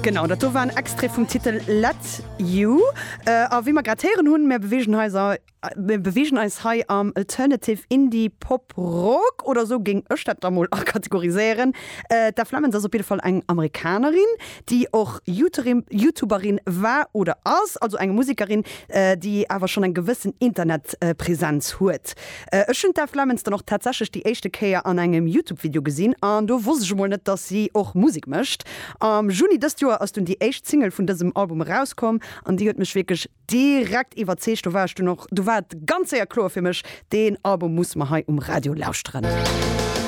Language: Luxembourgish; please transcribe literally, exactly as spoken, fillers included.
Genau, dat do war en Extrait vum Titel Let You. Äh, a wéi mer grad héieren hunn, mir beweegen eis mir beweegen eis hei am Alternative Indie Pop Rock oder sou géing ech dat da mol kategoriséieren. Äh, d'Eve Lemons ass op jidde Fall eng Amerikanerin, déi och YouTuberin war oder ass, also eng Musekerin, äh, déi awer schonn eng gewëssen Internetpräsenz huet. Äh, ech hunn d'Eve Lemons dann och tatsächlech déi éischte Kéier an engem YouTube-Video gesinn an do wosst ech mol net, dass si och Musek mécht. Am Juni dëst Joer ass dunn déi éischt Single vun dësem Album erauskomm an déi huet mech wierklech direkt iwwerzeegt. Do war ech dunn och, do war et ganz séier kloer fir mech, deen Album muss mer hei um Radio lauschteren.